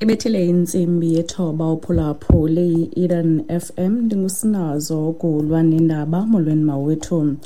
Ibethile intsimbi yethoba uphulaphule i-Eden FM. Ndingusinazo kulwa nendaba. Molweni mawethu.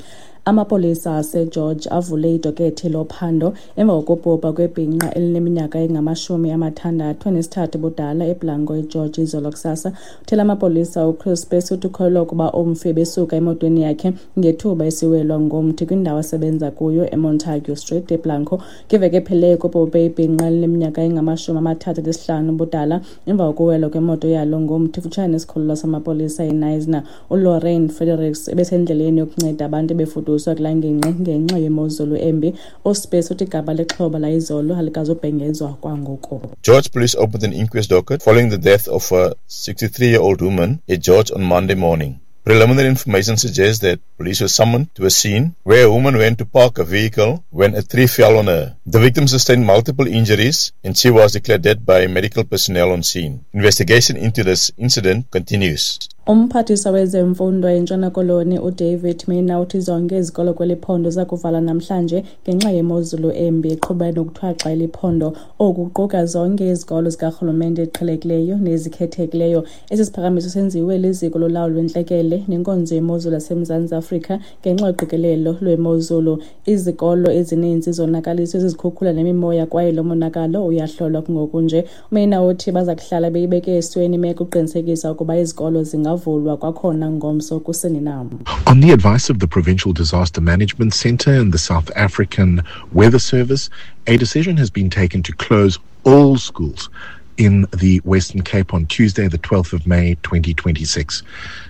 Amapolisa aseGeorge avule idokethi lophando emva kokubhubha kwebhinqa elineminyaka engama-63 budala eBlanco eGeorge izolo kusasa. Uthela amapolisa uChris Bess uthi ukholelwa ukuba umfi ebesuka emotweni yakhe ngethuba esiwelwa ngomthi kwindawo asebenza kuyo eMontague Street eBlanco. Kwiveki ephelileyo kubhubhe ibhinqa elineminyaka engama-35 budala emva kokuwelwa kwemoto yalo ngomthi kufutshane nesikhululo samapolisa eKnysna. ULorraine Fredericks ebesendleleni yokunceda abantu ebefuduswa kulaa ngingqi ngenxa yemozulu embi. USpace uthi igama lexhoba layizolo alikazubhengezwa kwangoku. George Police opened an inquest docket following the death of a 63-year-old woman at George on Monday morning. Preliminary information suggests that police were summoned to a scene where a woman went to park a vehicle when a tree fell on her. The victim sustained multiple injuries and she was declared dead by medical personnel on scene. Investigation into this incident continues. Umphathiswa wezemfundo eNtshona Koloni uDavid Mina uthi zonke izikolo kweli phondo zakuvala namhlanje ngenxa yemozulu embi eqhuba nokuthwaxa eli phondo. Oku kuquka zonke izikolo zikarhulumente eziqhelekileyo nezikhethekileyo. Esi siphakamiso senziwe liziko lolawulo lwentlekele nenkonzo yemozulu yaseMzantsi Afrika ngenxa yoqikelelo lwemozulu. Izikolo ezininzi zonakaliswe zizikhukhula nemimoya kwaye lo monakalo uyahlolwa kungoku nje. UMina uthi baza kuhlala beyibeke esweni imeko ukuqinisekisa ukuba izikolo zingavulwa kwakhona ngomso kusini na. On the advice of the Provincial Disaster Management Centre and the South African Weather Service, a decision has been taken to close all schools in the Western Cape on Tuesday, the 12th of May, 2026.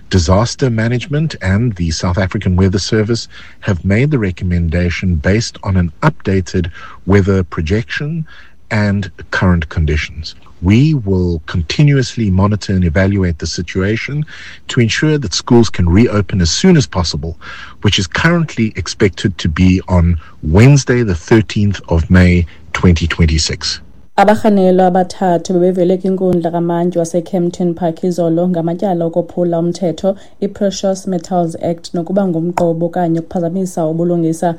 Disaster Management and the South African Weather Service have made the recommendation based on an updated weather projection and current conditions. We will continuously monitor and evaluate the situation to ensure that schools can reopen as soon as possible, which is currently expected to be on Wednesday, the 13th of May, 2026. Abarhanelwa abathathu bebevele kwinkundla kamantyi waseKempton Park izolo ngamatyala okophula umthetho i-Precious Metals Act nokuba ngumqobo okanye ukuphazamisa ubulungisa.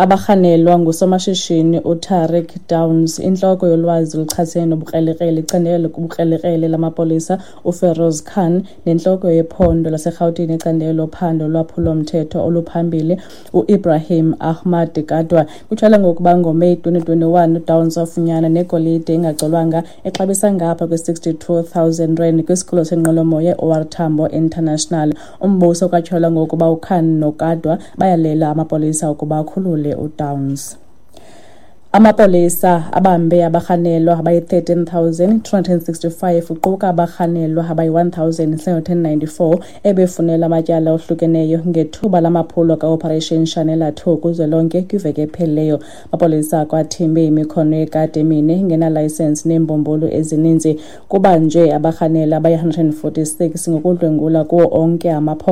Abarhanelwa ngusomashishini uTariq Downs, intloko yolwazi oluchasene nobukrelekrele icandelo lobukrelekrele lamapolisa uFeroz Khan, nentloko yephondo laseRhawutini icandelo lophando lwaphulo-mthetho oluphambili uIbrahim Ahmad Kadwa. Kutyholwa ngokuba ngoMeyi 2021 uDowns wafunyanwa negolide engacolwanga exabisa ngapha kwe-R62 000 kwisikhululo senqwelomoya e-OR Tambo International. Umbuso kwatyholwa ngokuba uKhan noKadwa bayalela amapolisa ukuba akhulule uDowns. Amapolisa abambe abarhanelwa abayi-13,265 kuquka abarhanelwa abayi-1,794 ebefunelwa amatyala ohlukeneyo ngethuba lamaphulo ka-Operation Shanela 2 kuzwelonke kwiveki ephelileyo. Amapolisa akwathimbe imikhono yekati emine engenalayisensi neembumbulu ezininzi. Kubanjwe abarhanelwa abayi-146 ngokudlwengula kuwo onke amaphondo.